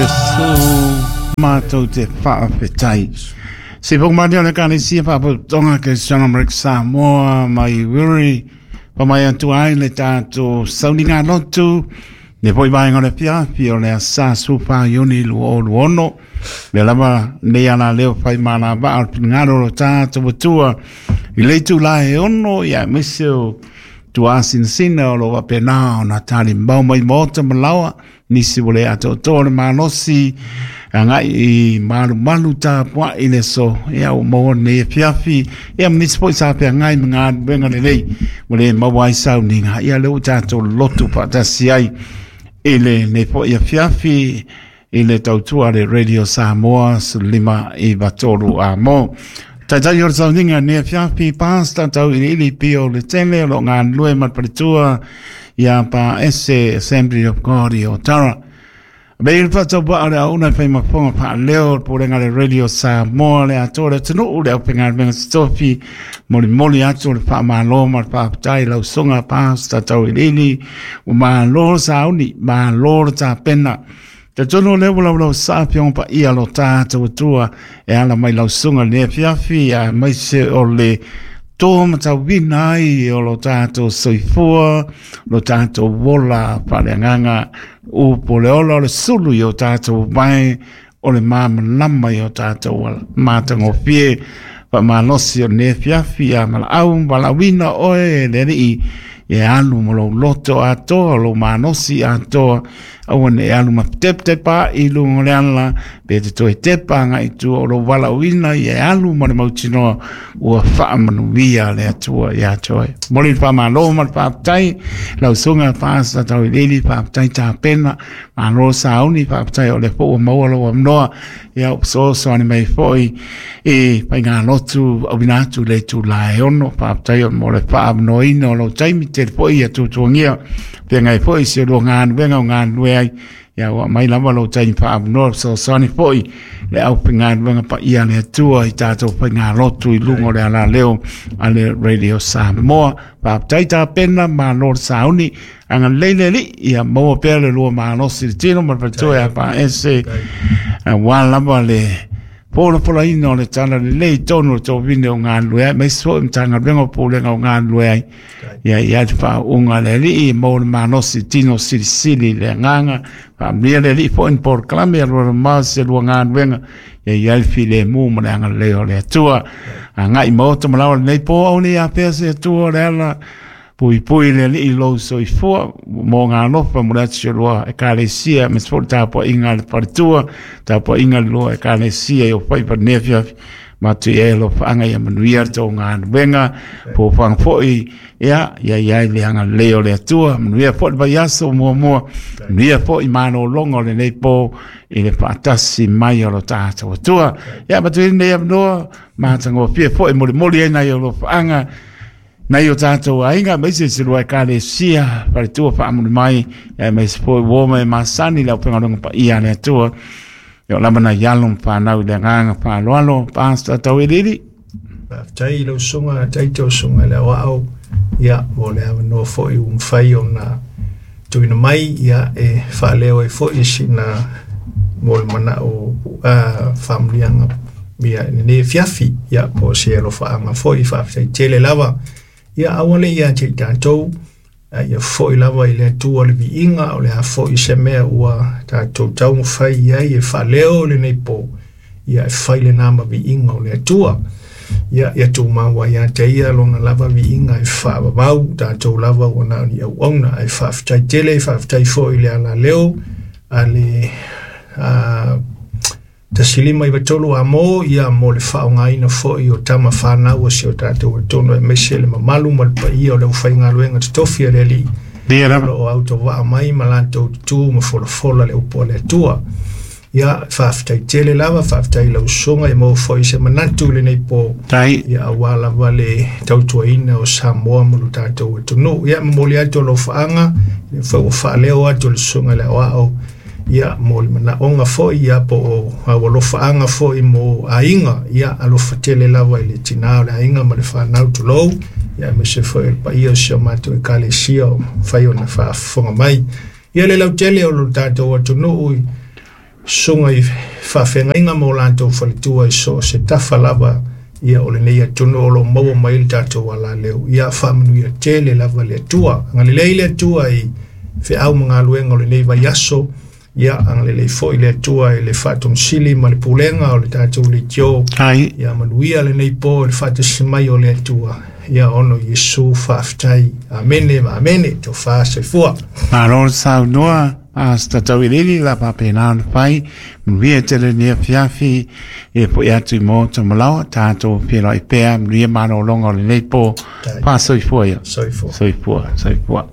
Iesu matou te faafetai. Se foku mani o le Ekalesia Faapotopotoga Kerisiano Amerika Samoa mai Wiri, pa mai atu ai le tatou sauniga lotu, le foi vaega o le afiafi o le asa 14 Iuni 2026. Lea lava nei ala leo fai malavaa o le finagalo o lo tatou Atua i le itula e 6, ia aemaise o tuasinasina o lo o faapena ona talimau mai maota ma laoa, nisi ua le atoatoa le malosi agai i malumalu tapuai le aso, ia ua maua lenei afiafi, ia ma nisi foi sa feagai ma galuega lelei ua le maua ai sauniga, ia lea ua tatou lotu faatasi ai i lenei foi afiafi i le tautua a le Radio Samoa 1593 Amo. Taitai o le sauniga nei afiafi, Pastor Tauiliili Pio le Tele o lo o galulue ma le faletua ia Pa Ese Assembly of God i Otara. Mei le faatauvaa o le auauna e fai mafoga faaleo o le pulega a le Radio Samoa le atoa le atunuu le aufaigaluega totofi molimoli atu o le faamalo ma le faafetai lau susuga Pastor Tauiliili ua malo le sauni, malo le tapena. Talitonu o lea ua laulau sa afioga paia lo tatou Atua e ala mai lau susuga i lenei afiafi, aemaise o le tō matauina ai o lo tatou soifua, lo tatou ola faaleagaga, upu o le ola o le sulu i o tatou vae, o le malamalama i o tatou matagofie. Faamalosi o lenei afiafi, a valaau ma valaauina oe e le Alii e alu ma lou loto atoa, lou malosi atoa, aua ne i alu ma tepatepa i luga o le ala, pe te toe tepa agai i tua o lou valaauina ia e alu ma le mautinoa ua faamanuia le Atua ia te oe. Momoli le faamalo ma le faafetai lau susuga Pastor Tauiliili, faafetai tapena, malo sauni, faafetai o lea foi ua maua lou avanoa ia fesoasoani mai foi i faigalotu auina atu i le itula e 6. Faafetai mo le faaavanoaina o lou taimi, tele foi ia tuatuagia feagai foi si o lua galuega o galulue ai, ia ua aumai lava lou taimi faaavanoa fesoasoani foi le aufaigaluega paia a le Atua i tatou faigalotu i luga o le alaleo a le Radio Samoa. Faafetai tapena, malo le sauni, agalelei le Alii, ia maua pea le lua malosi i le tino ma le faletua ia Faese, aua lava le polapolaina o le tala lelei i totonu o le tovine o galulue ai, aemaise foi o Matagaluega o Pulega o galulue ai. Ia i ai le faauuga a le Alii, maua le malosi i tino silisili i le agaga, faamanuia le Alii foi ni polokalame a lua mamao se lua galuega, ia i ai le filemu ma le agalelei o le Atua. Agai maota ma laoa lenei po au nei afea se Atua o le ala, puipui le Alii i lou soifua, mo ngā alofa mo le atu si o lua Ekalesia, aemaise foi le tapuaiga a le faletua, tapuaiga a le lua Ekalesia i o faiva i lenei afiafi. Matu i ai alofaaga ia manuia le tou galuega, fuafuaga foi ia ia i ai le agalelei o le Atua, manuia foi le vaiaso muamua, manuia foi malologa o lenei po i le faatasi mai o lo tatou Atua. Ia matu i lenei avanoa, matagofie foi molimoli ai nai alofaaga nai o tatou aiga, aemaise se lua Ekalesia, faletua faamuli mai, aemaise foi uo ma e masani le aufaigaluega paia a le Atua. Ia o lava nai alo ma fanau i le agaga faaaloalo, Pastor Tauiliili. Faafetai i lau susuga Taito, susuga i le Aoao, ia, mo le avanoa foi ua mafai ona tuuina mai, ia, e faaleo ai foi sina mo le manao faamanuiaga ia i lenei afiafi, ia, po o se alofaaga foi. Faafetai tele lava. Ia, aua le ia te i tatou, a ia foi lava i le Atua le viiga, o le a foi se mea ua tatou taumafai i ai e faaleo lenei po, ia e fai lena ma viiga o le Atua. Ia, ia tumau ai ia te ia lona lava viiga e faavavau, tatou lava ua na o ni auauna. Ae faafetai tele, faafetai foi i le alaleo a le 1593 a mo, ia mo le faaaogaina foi o tama fanau a si o tatou atunuu, aemaise le mamalu ma le paia o le aufaigaluega totofi a le Alii o lo o autovaa mai ma latou tutu ma folafola le upu a le Atua. Ia, faafetai tele lava, faafetai i lau susuga, ia maua foi se manatu i lenei po, ia aua lava le tautuaina o Samoa ma lo tatou atunuu. Ia, momoli atu alofaaga, lea foi ua faaleo atu e le susuga i le Aoao, ia mo le manaoga foi, ia po o au alofaaga foi mo aiga, ia alofa tele lava i le tinā o le aiga ma le fanau, tulou, ia aemaise foi o le paia o si o matou Ekalesia o mafai ona faafofoga mai. Ia le lautele o lo tatou atunuu Susuga i faafeagaiga ma o latou faletua i so o se tafa lava ia o lenei atunuu o lo o maua mai le tatou alaleu. Ia faamanuia tele lava le Atua. Agalelei le Atua i feau ma galuega o lenei vaiaso. Ia agalelei foi le Atua i le faatomusili ma le pulega o le tatou leitio. Ai. Ia manuia lenei po i le faatasi mai o le Atua. Ia ona o Iesu faafetai. Amene ma amene. Tofa soifua. Malo le saunoa Pastor Tauiliili la faapena ona fai. Manuia tele lenei afiafi e foi atu i Maota Malaoa tatou feiloai pea manuia malologa o lenei po. Faasoifua ia. Soifua. Soifua, soifua.